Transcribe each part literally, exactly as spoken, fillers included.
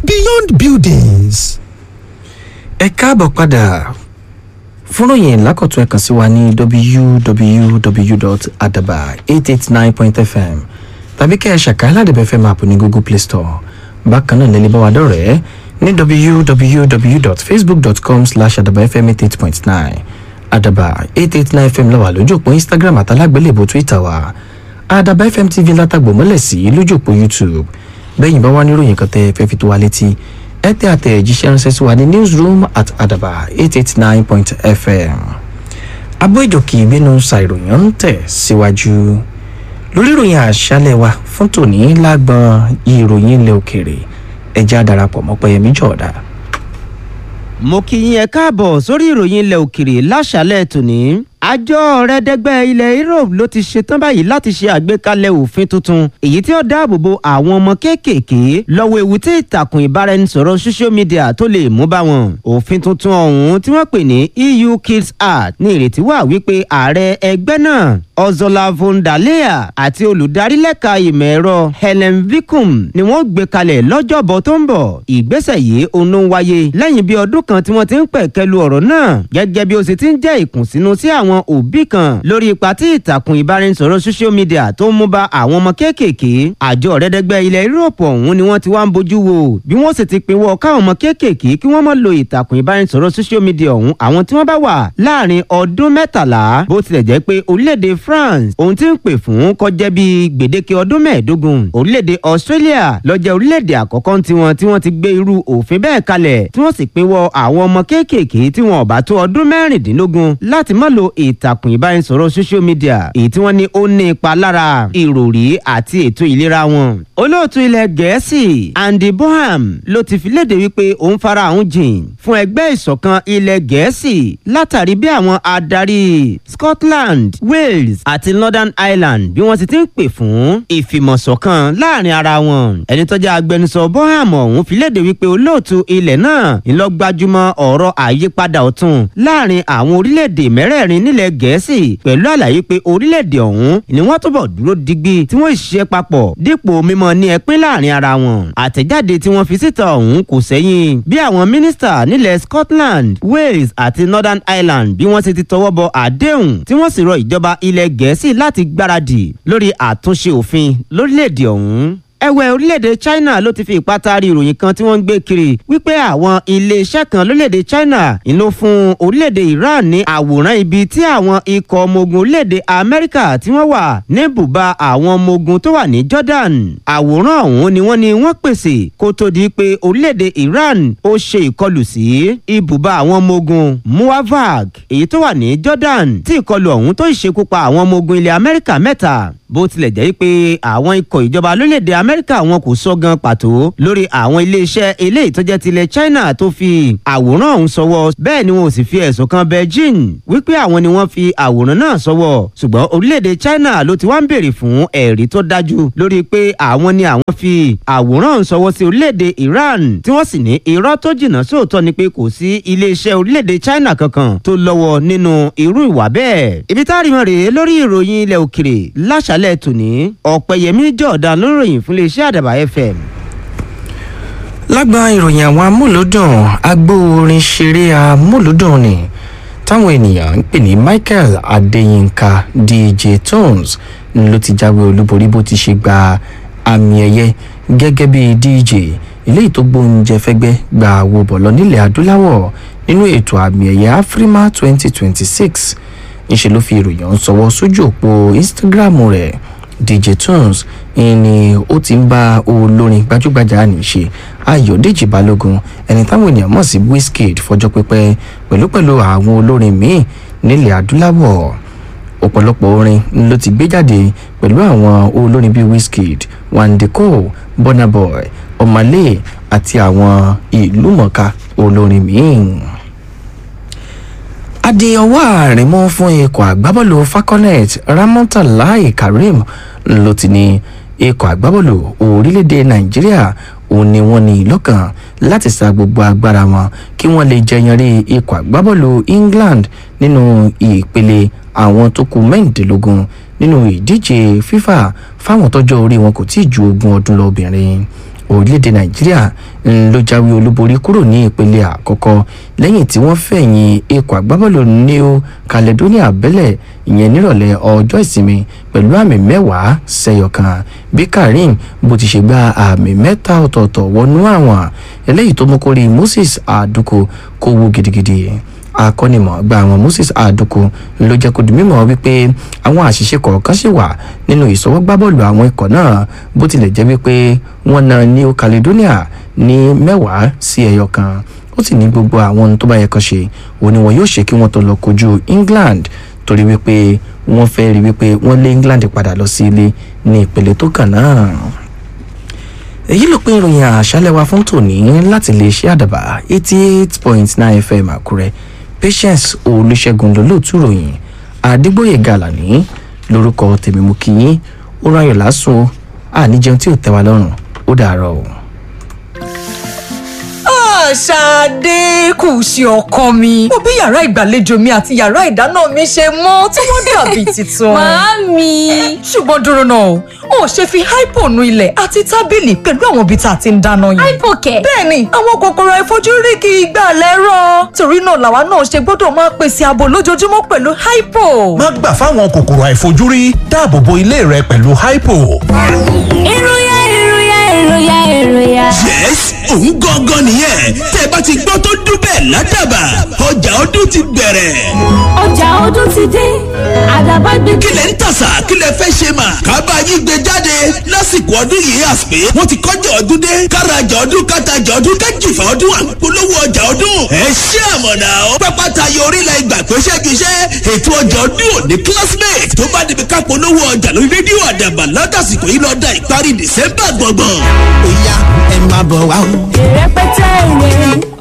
Beyond Buildings. Ẹ káàbọ̀ padà. Fúnròyìn lákọ̀tún, ẹ kàn sí wa ní w w w dot adaba eight eight nine point f m tàbí kẹ́ ẹ ṣàkàlà Àdàbà F M app ní Google Play Store. Bákan náà lẹ́lẹ́ bá wa dọ̀rẹ́ ní w w w dot facebook dot com slash adaba f m eight eight point nine. Àdàbà eight eight nine F M ló wà lójú òpó Instagram àtàlágbélébò Twitter wa. Àdàbà F M T V látàgbò mọ́lẹ̀ sí lójú òpó YouTube. Bẹ́yìn bá wá níròyìn kan tẹ́ ẹ fẹ́ fi tó wa létí, ẹ tẹ àtẹ̀jíṣẹ́ ránṣẹ́ sí wa ní newsroom at adaba eight eight nine point f m. Abó ìjòkè ìgbénu ṣàìròyìn ń tẹ̀ síwájú lórí ìròyìn àṣálẹ̀ wa fún tòní. Lágbọn ìròyìn ilẹ̀ òkèèrè, ẹjẹ́ àdarapọ̀ mọ́ Pẹ́yẹmí Jọ̀ọ́dá. Mo kí yín, ẹ káàbọ̀ sórí ìròyìn ilẹ̀ òkèrè láṣálẹ̀ tòní. Àjọ ọ̀rẹ́dẹ́gbẹ́ ilẹ̀ Europe ló ti ṣetán báyìí láti ṣe àgbékalẹ̀ òfin tuntun èyí tí ó dáàbò bo àwọn ọmọ kéékèèké lọ́wọ́ ewu tí ìtàkùn ìbáraẹnisọ̀rọ̀ social media tó lè mú bá wọn. Òfin tuntun ọ̀hún tí wọ́n pè ní E U Kids Act ní ìrètí wà wípé ààrẹ ẹgbẹ́ náà, Ursula von der Leyen, àti olùdarí lẹ́ka ìmọ̀ ẹ̀rọ Helen Vicum ni wọ́n gbé kalẹ̀ lọ́jọ́bọ̀ tó ń bọ̀. Ìgbésẹ̀ yìí òun ló ń wáyé lẹ́yìn bí ọdún kan tí wọ́n ti ń pẹ̀kẹ́lu ọ̀rọ̀ náà, gẹ́gẹ́ bí ó ṣe ti ń jẹ́ ìkùnsínú sí àwọn òbí kan lórí ipa tí ìtàkùn ìbáraẹnisọ̀rọ̀ social media tó ń mú bá àwọn ọmọ kéékèèké. Àjọ ọ̀rẹ́dẹ́gbẹ́ ilẹ̀ Europe ọ̀hún ni wọ́n ti wá ń bójú wo bí wọ́n sì ti pinwọ́ káwọn ọmọ kéékèèké kí wọ́n má lo ìtàkùn ìbáraẹnisọ̀rọ̀ social media ọ̀hún, àwọn tí wọ́n bá wà láàrin ọdún mẹ́tàlá, bó tilẹ̀ jẹ́ pé orílẹ̀-èdè France ohun tí ń pè fún kọjá bíi gbèdéke ọdún mẹ́ẹ̀ẹ́dógún. Orílẹ̀-èdè Australia ló jẹ́ orílẹ̀-èdè àkọ́kọ́ tiwọn tí wọ́n ti gbé irú òfin bẹ́ẹ̀ kalẹ̀, tí wọ́n sì pinwọ́ àwọn ọmọ kéékèèké tí wọn ò bá tó ọdún mẹ́rìndínlógún láti má lo ìtàkùn ìbánisọ̀rọ̀ social media, èyí tí wọ́n ní ó ní ipa lára ìròrí àti ètò ìlera wọn. Olóòtú ilẹ̀ Gẹ̀ẹ́sì Andy Bonham ló ti fi léde wípé òun fara òun jìn fún ẹgbẹ́ ìṣọ̀kan ilẹ̀ Gẹ̀ẹ́sì látàrí bí àwọn adarí Scotland, Wales àti Northern Ireland bí wọ́n ti ti ń pè fún ìfìmọ̀ṣọ̀kan láàrin ara wọn. Ẹni tó jẹ́ agbẹnusọ Bonham ọ̀hún fi léde wípé olóòtú ilẹ̀ náà ń lọ gbajúmọ̀ ọ̀rọ̀ àyípadà ọ̀tun láàrin àwọn orílẹ̀-èdè mẹ́rẹ̀ẹ̀rin nílẹ̀ Gẹ̀ẹ́sì, pẹ̀lú àlàyé pé orílẹ̀-èdè ọ̀hún ni wọ́n túbọ̀ dúró digbí tí wọ́n ṣiṣẹ́ papọ̀ dípò mímọ ní ẹpín láàrin ara wọn. Àtẹ̀jáde tí wọ́n fi síta ọ̀hún kò sẹ́yìn bí àwọn mínísítà nílẹ̀ Scotland, Wales àti Northern Ireland bí wọ́n ṣe ti tọwọ́ bọ àdéhùn, tí wọ́n sì rọ ìjọba ilẹ̀ Gẹ̀ẹ́sì láti gbáradì lórí àtúnṣe òfin lórílẹ̀-èdè ọ̀hún. Ẹ̀wẹ̀, orílẹ̀-èdè China ló ti fi ìpátá rí ìròyìn kan tí wọ́n ń gbé kiri wípé àwọn iléeṣẹ́ kan lórílẹ̀-èdè China ń lò fún orílẹ̀-èdè Iran ní àwòrán ibi tí àwọn ikọ̀ ọmọ ogun orílẹ̀-èdè Amẹ́ríkà tí wọ́n wà ní bùbá àwọn ọmọ ogun tó wà ní Jordan. Àwòrán ọ̀hún ni wọ́n ní wọ́n pèsè kó tó di pé orílẹ̀-èdè Iran ó ṣe ìkọlù sí ibùbá àwọn ọmọ ogun Muwafaq èyí tó wà ní Jordan, tí ìkọlù ọ̀hún tó ìṣekú pa àwọn ọmọ ogun ilẹ̀ Amẹ́ríkà mẹ́ta. Bó tilẹ̀ jẹ́ pé àwọn ikọ̀ ìjọba lórílẹ̀‐èdè Amẹ́ríkà wọn kò sọ gan pàtó lórí àwọn iléeṣẹ́ eléyìí tó jẹ́ tilẹ̀ China tó fi àwòrán ọ̀hún sọwọ́, bẹ́ẹ̀ ni wọn ò sì fi ẹ̀sùn kan Beijing wípé àwọn ni wọ́n fi àwòrán náà sọwọ́, ṣùgbọ́n orílẹ̀‐èdè China ló ti wá ń béèrè fún ẹ̀rí tó dájú lórí pé àwọn ni àwọn fi àwòrán ọ̀hún sọwọ́ sí orílẹ̀‐èdè Iran, tí wọ́n sì ní irọ́ tó jìnnà sóòótọ́ ni pé kò sí iléeṣẹ́ orílẹ̀‐èdè China kankan tó lọ́wọ́ nínú irú ìwà bẹ́ẹ̀. Ibi tá a rí wọn rèé lórí ìròyìn ilẹ̀ òkèrè láṣálẹ̀ tòní. Ọ̀pẹ̀yẹmí Jọ̀ọ̀dán ló ń ròyìn fún iléeṣẹ́ Àdàbà F M. Lágbọn ìròyìn àwọn amúlùdùn, agbóorin ṣeré amúlùdùn ni táwọn ènìyàn ń pè ní Michael Adéyínká, D J Tones, ló ti jáwé olúborí bó ti ṣe gba àmì ẹ̀yẹ gẹ́gẹ́ bí D J eléyìí tó gbóúnjẹ fẹ́gbẹ́ gba àwo bọ̀ lọ nílẹ̀ adúláwọ̀ nínú ètò àmì ẹ̀yẹ Afrima twenty twenty six. Ńṣe ló fi ìròyìn ọ̀hún sọwọ́ sójú òpó Instagram rẹ̀. D J Tones ni ó ti ń bá olórin gbajúgbajà nìṣe Ayọ̀dèjì Balógun, ẹni táwọn ènìyàn mọ̀ sí Wizkid, fọjọ́ pípẹ́ pẹ̀lú pẹ̀lú àwọn olórin míì nílẹ̀ adúláwọ̀. Ọ̀pọ̀lọpọ̀ orin ló ti gbé jáde pẹ̀lú àwọn olórin bíi Wizkid, Wandeko, Burna Boy, Omah Lay àti àwọn ìlúmọ̀ọ́ká olórin míì. Adé ọwọ́ àárín mú fún ikọ̀ àgbábọ́ọ̀lù Falconet, Ramontalai Karim, ló ti ní ikọ̀ àgbábọ́ọ̀lù orílẹ̀-èdè Nàìjíríà òun ni wọ́n ní lọ́kàn láti sa gbogbo agbára wọn kí wọ́n lè jẹyanrí ikọ̀ àgbábọ́ọ̀lù England nínú ìpele àwọn tó kù mẹ́rìndínlógún nínú ìdíje FIFA fáwọn tọ́jọ́ orí wọn kò tí ì ju ogún ọdún lọ obìnrin. Orílẹ̀-èdè Nàìjíríà ló jáwé olúborí kúrò ní ìpele àkọ́kọ́ lẹ́yìn tí wọ́n fẹ̀yìn ikọ̀ agbábọ́ọ̀lù New Caledonia bẹ́lẹ̀, ìyẹn nírọ̀lẹ́ ọjọ́ ìsinmi pẹ̀lú àmì mẹ́wàá sẹ́yọ kan. Bí Karim bó ti ṣe gba àmì mẹ́ta ọ̀tọ̀ọ̀tọ̀ wọnú àwọn eléyìí tó mú kó rí Moses Aduko kó wú gidigidi. Akọ́nimọ̀ọ́gbá àwọn Moses Aduko ló jẹ́ kó di mímọ̀ wípé àwọn àṣìṣe kọ̀ọ̀kan ṣì wà nínú ìṣọwọ́gbábọ́ọ̀lù àwọn ikọ̀ náà, bó tilẹ̀ jẹ́ wípé wọ́n na New Caledonia ní mẹ́wàá sí ẹyọ kan. Ó sì ní gbogbo àwọn ohun tó bá yẹ kán ṣe òun ni wọn yóò ṣe kí wọ́n tó lọ kojú England, torí wípé wọ́n fẹ́ rí wípé wọ́n lé England padà lọ sí ilé ní ìpele tó kàn náà. Èyí ló pín ìròyìn àṣálẹ́ wa fún tòní láti lè ṣe Àdàbà eighty eight point nine F M Àkúrẹ́. Patience Olùṣègùn lólóòtú ròyìn, Adégbòye Gàlàní lórúkọ tèmi. Mú kí yín ó ráyọ̀ lásùn, àníjẹun tí ò tẹ́ wa lọ́rùn. Ó dàárọ̀ o. Ṣadé kù sí, ọkọ mi. Mo bí yàrá ìgbàlejò mi àti yàrá ìdáná mi ṣe mọ́ tí wọ́n dàbí tuntun. Màámi. Ṣùgbọ́n dúró náà, o ò ṣe fi Hypo nu ilẹ̀ àti tábìlì pẹ̀lú àwọn ibi tá a ti ń dáná yìí? Hypo kẹ̀? Bẹ́ẹ̀ni, àwọn kòkòrò àìfojúrí kì í gbà lẹ́rọ̀. Torí náà làwa náà ṣe gbọ́dọ̀ máa pèsè ààbò lójoojúmọ́ pẹ̀lú Hypo. Má gbà fáwọn kòkòrò àìfojúrí, dáàbò bo ilé rẹ pẹ̀lú Hypo. Ìròyà, ìròyà, ìròyà, ìròyà. Yes, òun gangan nìyẹn. Tẹ́ ẹ bá ti gbọ́ tó dún bẹ́ẹ̀ ládàbà, ọjà ọdún ti bẹ̀rẹ̀. Ọjà ọdún ti dé, Àdàbà gbé. Kí lẹ̀ ń tàṣà? Kí lẹ̀ fẹ́ ṣe mà? Kábà yín gbé jáde lásìkò ọdún yìí. Àsìpé wọ́n ti kọjá ọdún dé. Kárajà ọdún, kátajà ọdún, kájìfà ọdún, àpolówó ọjà ọdún. Ẹ ṣé àmọ̀nà ó. Pápá tayọ orílẹ̀ ìgbà pé ṣẹ́giṣẹ́ ètò ọjà ọdún òní classmate tó bá débi ká polówó ọjà lórí rédíò Àdàbà látàsìkò yìí lọ́dà ìparí December gbọ̀ngbọ̀n. Ó yá, ẹ máa bọ̀ wá o. Ìrẹpẹtẹ ìwé,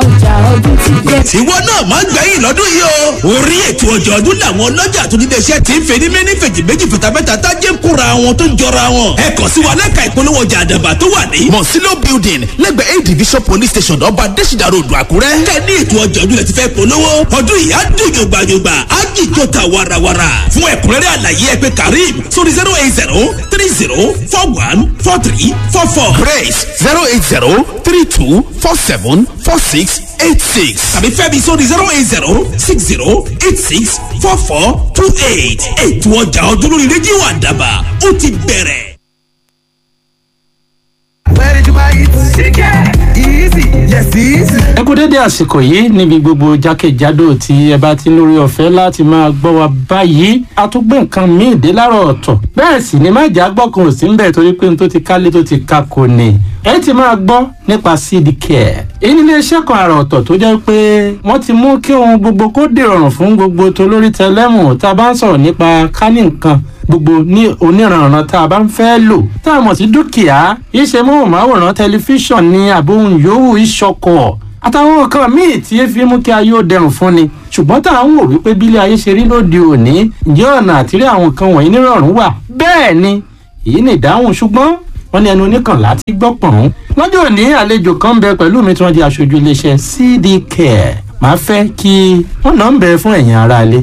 ọjà ọdún ti dé. Tiwọ náà máa ń gbẹ̀yìn lọ́dún yìí o. Orí ètò ọjọ́ ọdún làwọn ọlọ́jà tó nílé iṣẹ́ ti ń fẹ́ ní méní fèjì méjì fìtàfẹ́ta tájé ń kóra wọn tó ń jọra wọn. Ẹ kàn sí wa lẹ́ka ìpolówó ọjà Àdàbà tó wà ní Mọ̀sílò building, lẹ́gbẹ̀ẹ́ A division police station, Ọba Adésìdá Road, Àkúrẹ́. Kẹ́ ní ètò ọjọ́ ọdún lẹ ti fẹ́ polówó. Ọdún yìí á dùn yògbàyògbà, á jìjọ ta warawara. Fún ẹ̀kúnrẹ́rẹ́ àlàyé, ẹ pè Karim sórí zero eight zero three zero four one four three four four. Grace, zero eight zero three two four seven four six eight six. Tàbí Fẹ́mi sórí zero eight zero six zero eight six four four two eight. Ètò ọjà ọdún lórí rédíò Àdàbà ó ti bẹ̀rẹ̀. Where did you buy it? Easy. Yes, easy. Ẹ kú dédé àsìkò yìí níbi gbogbo jákèjádò tí ẹ bá ti lórí ọ̀fẹ́ láti máa gbọ́ wa báyìí. A tún gbé nǹkan míì dé láàárọ̀ ọ̀tọ̀, bẹ́ẹ̀ sì ni májà gbọ́kàn ò sí ń bẹ̀, torí pé n tó ti kálé tó ti ka kò ní. Ẹ ti máa gbọ́ nípa Seed Care. Èyí ní iléeṣẹ́ kan àrà ọ̀tọ̀ tó jẹ́ pé wọ́n ti mú kí ohun gbogbo kó dìrọ̀rùn fún gbogbo tolórí tẹlẹ́mù. Tá a bá ń sọ̀rọ̀ nípa kání nǹkan gbogbo ní oníranran tá a bá ń fẹ́ lò tá a mọ̀ sí dúkìá, iṣẹ́ móhùnmáwòrán, tẹlifíṣàn ní àbóhùn yòówù, ìṣọkọ̀ àtàwọn nǹkan míì tí e fi mú kí ayé ó dẹrùn fún ni. Ṣùgbọ́n tá à ń wò wípé bílé ayé ṣe rí lóde òní, ǹjẹ́ ọ̀nà àtìrí àwọn nǹkan wọ̀nyí nírọ̀rùn wà? Bẹ́ẹ̀ ni, èyí ni ìdáhùn. Ṣùgbọ́n wọ́n ní ẹnu oníkànlá ti gbọ́ pọ̀n. Lọ́jọ́ òní, àlejò kan ń bẹ pẹ̀lú mi tí wọ́n di aṣojú iléeṣẹ́ C D Care. Màá fẹ́ kí wọ́n náà ń bẹ fún ẹ̀yin aráalé.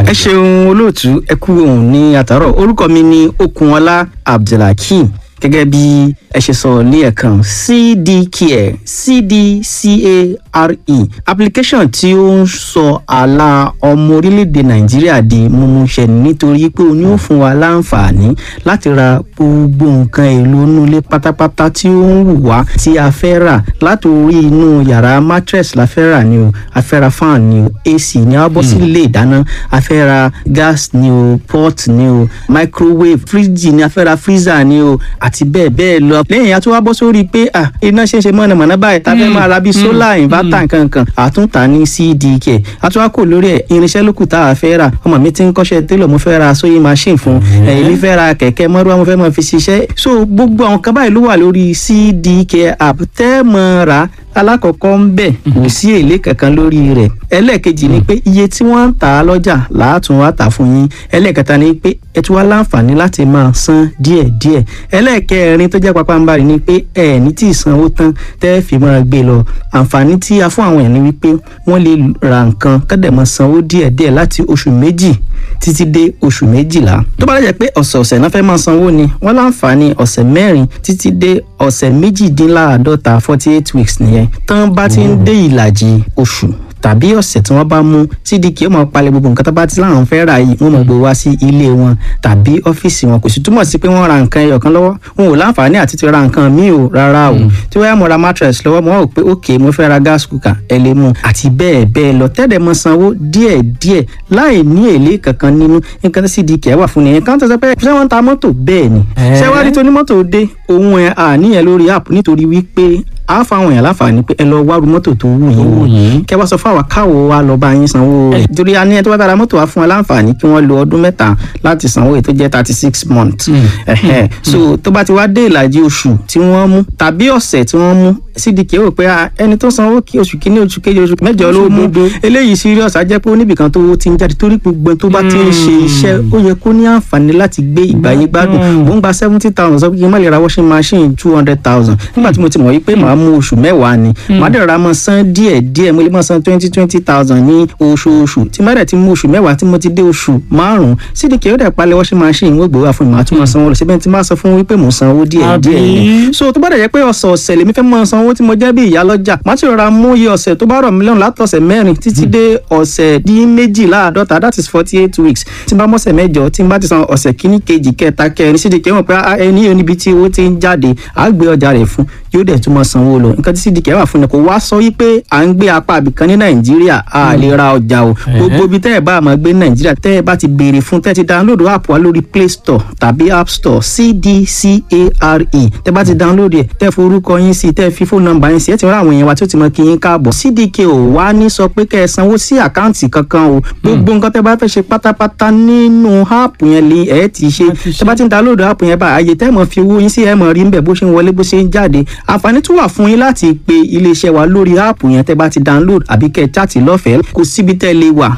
Ẹ ṣeun olóòtú, ẹ kú òun ní àtàrọ. Orúkọ mi ni Okunọlá Abdulhakeem. Gẹ́gẹ́ bí ẹ ṣe sọ ní ẹ̀kan, C D Care, C D C A R E, application tí ó ń sọ àlà ọmọ orílẹ̀-èdè Nàìjíríà di mímúṣẹ, nítorí pé ó ní ó fún wa láǹfààní láti ra gbogbo nǹkan èlò inú ilé pátápátá tí ó ń wù wá tí a fẹ́ rà. Láti orí inú yàrá, mattress la fẹ́ rà ni o, a fẹ́ ra fan ni o, A C ni, a bọ́ sí ilé ìdáná, a fẹ́ ra gas ni o, pot ni o, microwave, fridge ni, a fẹ́ ra freezer ni o, àti bẹ́ẹ̀ bẹ́ẹ̀ lọ. Lẹ́yìn a tún wá bọ́ sórí pé ah, iná ṣe ń ṣe mọ̀nàmọ́ná báyìí, tá a fẹ́ máa ra bíi solar inverter nkankan, àtúntà ní C D K. A tún wá kò lórí ẹ̀, irinṣẹ́ lókù tá a fẹ́ rà. Ọmọ mi ti ń kọ́ṣẹ́ télọ̀, mo fẹ́ ra sewing machine fún èmi, fẹ́ ra kẹ̀kẹ́ mọ́rúwá, mo fẹ́ máa fi ṣiṣẹ́. So gbogbo àwọn kan báyìí ló wà lórí C D K app tẹ́ mọ́ ra. Alákọ̀ọ́kọ́ ń bẹ̀ kò sí èlé kankan lórí rẹ̀. Ẹlẹ́ẹ̀kejì ni pé iye tí wọ́n ń tà á lọ́jà làátún wá tà fún yín. Ẹlẹ́ẹ̀kẹta ni pé ẹ tún wá láǹfààní láti máa san díẹ̀díẹ̀. Ẹlẹ́ẹ̀kẹrin tó jẹ́ pàpàǹbarì ni pé ẹ ní tí ì sanwó tán tẹ́ fi máa gbé lọ. Àǹfààní tí a fún àwọn èèyàn ni wípé wọ́n lè ra nǹkan kọ́dẹ̀ máa sanwó díẹ̀díẹ̀ láti oṣù méjì títí dé oṣù méjìlá. Tó bá dẹ̀ jẹ́ pé ọ̀sẹ̀ọ̀sẹ̀ náà fẹ́ máa sanwó ni, wọ́n láǹfààní ọ̀sẹ̀ mẹ́rin títí dé ọ̀sẹ̀ méjìdínláàádọ́ta, forty eight weeks nìyẹn. Tán bá ti ń dé ìlàjì oṣù tàbí ọ̀sẹ̀ tí wọ́n bá mú, C D K ó máa palẹ̀ gbogbo nǹkan tó bá ti láwọn fẹ́ rà yìí, wọ́n máa gbé wá sí ilé wọn tàbí ọ́fíìsì wọn. Kò sì túmọ̀ sí pé wọ́n ra nǹkan ẹyọ kan lọ́wọ́, wọn ò láǹfààní àti ti ra nǹkan míì o, rárá o. Tí wọ́n yá mo ra mattress lọ́wọ́, mo wá wò pé ok, mo fẹ́ ra gas cooker, ẹ lè mú àti bẹ́ẹ̀ bẹ́ẹ̀ lọ, tẹ́lẹ̀ mọ sanwó díẹ̀ díẹ̀ láì ní èlé kankan nínú. Nǹkan tí C D K wà fún nìyẹn. Kan tó sọ pé ṣé wọ́n ń ta mọ́tò? Bẹ́ẹ̀ ni. Ṣé wàá rí tó ní mọ́tò dé òun ẹ̀ àníyàn lórí app, nítorí wípé a fáwọn èèyàn láǹfààní pé ẹ lọ wárú mọ́tò tó wù yín, kẹ wá sọ fún àwa káwo wa lọ bá yín sanwó rẹ̀, torí a ní ẹ tó bá bára mọ́tò wa fún wa láǹfààní kí wọ́n lo ọdún mẹ́ta láti sanwó èyí tó jẹ́ thirty six months. Ẹ̀hẹ́n. So tó bá ti wá dé ìlàjì oṣù tí wọ́n mú tàbí ọ̀sẹ̀ tí wọ́n mú, C D K rò pé ah, ẹni tó sanwó kí oṣù kínní, oṣù kejì, oṣù mẹ́jọ ló mú, eléyìí serious, á jẹ́ pé ó níbìkan tó ti ń jáde, torí gbogbo ẹni tó bá ti ń ṣe iṣẹ́, ó yẹ kó ní àǹfààní láti gbé ìgbáyé gbádùn. Mò ń gba seventy thousand, sọ pé kí n má lè ra washing machine two hundred thousand, nígbà tí mo ti mọ̀ wípé màá mú oṣù mẹ́wàá ni, màá dẹ̀ ra mọ́ san díẹ̀ díẹ̀, mo lè máa san twenty twenty thousand ní oṣooṣù. Tí má dẹ̀ ti mú oṣù mẹ́wàá, tí mo ti dé oṣù márùn-ún, C D K ó dẹ̀ palẹ̀ washing machine, wọ́n gbé wá fún mi, màá tún máa sanwó lọ síbẹ̀. Tí má sọ fún wípé mò ń sanwó díẹ̀ díẹ̀ ni. So tó bá dẹ̀ jẹ́ pé ọ̀sẹ̀ọ̀sẹ̀ lèmi fẹ́ máa sanwó tí mo jẹ́ bí ìyá lọ́jà, màá ti rọra mú iye ọ̀sẹ̀ tó bá rọ̀ mí lọ́rùn látọ̀sẹ̀ mẹ́rin títí dé ọ̀sẹ̀ dín méjìláàdọ́ta, that is forty eight weeks. Tí n bá mọ̀sẹ̀ mẹ́jọ, tí n bá ti san ọ̀sẹ̀ kíní, kejì, kẹta, kẹrin, C D K mọ̀ pé ah, ẹni yóò níbi tí owó ti ń jáde, á gbé ọjà rẹ̀ fún, yóò dẹ̀ tún máa sanwó lọ. Nǹkan tí C D K wà fún ni kò wá sọ wípé à ń gbé apá àbìkan ní Nàìjíríà a lè ra ọjà o. Gbogbo ibi tẹ́ ẹ bá máa gbé ní Nàìjíríà, tẹ́ ẹ bá ti béèrè fún, tẹ́ ẹ ti download app wa lórí Play Store tàbí App Store, C D C A R E, tẹ́ bá ti download ẹ̀, tẹ́ forúkọ yín sí, tẹ́ fi phone number yín sí, ẹ ti rán àwọn èèyàn wa tí ó ti mọ kí yín káàbọ̀. C D K ò wá ní sọ pé kẹ́ ẹ sanwó sí àkáǹtì kankan o. Gbogbo nǹkan tẹ́ bá fẹ́ ṣe pátápátá nínú app yẹn lè ẹ ti ṣe. Tẹ́ bá ti ń download app yẹn bá, àyè tẹ́ mọ̀ fi owó yín sí, ẹ mọ̀ rí ń bẹ̀ bó ṣe ń wọlé, bó ṣe ń jáde. Àǹfààní tún wà fún yín láti pe iléeṣẹ́ wa lórí app yẹn tẹ́ bá ti download, àbí kẹ́ ẹ chat lọ́fẹ̀ẹ́. Kò síbi tẹ́ lè wà.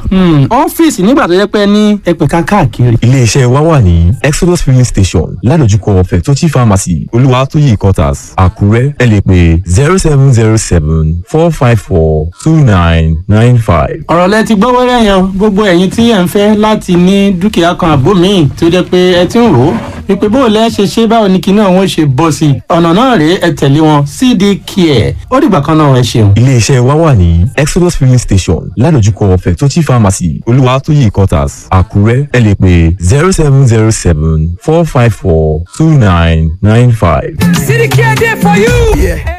Ọ́fíìsì nígbà tó jẹ́ pé ní ẹgbẹ̀ka káàkiri. Iléeṣẹ́ wa wà ní Exodus Filling Station, ládojúkọ Fẹ̀tọ́chì Pharmacy, Olúwatóyè Quarters, Àkúrẹ́. Ẹ lè pè zero seven zero seven four five four two nine nine five. Ọ̀rọ̀ lẹ ti gbọ́ wẹ́rẹ́ yẹn. Gbogbo ẹ̀yin tí ẹ̀ ń fẹ́ láti ní dúkìá kan àbó míì tó jẹ́ pé ẹ ti ń rò ó wípé bó o lẹ́ ṣe ṣe, báwo ni kinní ọ̀hún ṣe bọ́ sí i, ọ̀nà náà rèé, ẹ tẹ̀lé wọn, C D Care. Ó dìgbà kan náà, ẹ ṣeun. Iléeṣẹ́ wa wà ní Exodus Filling Station, ládojúkọ Fẹ̀tọ́chì Pharmacy, Olúwatóyè Quarters, Àkúrẹ́. Ẹ lè pè zero seven zero seven four five four two nine nine five. C D K dey for you. Yeah.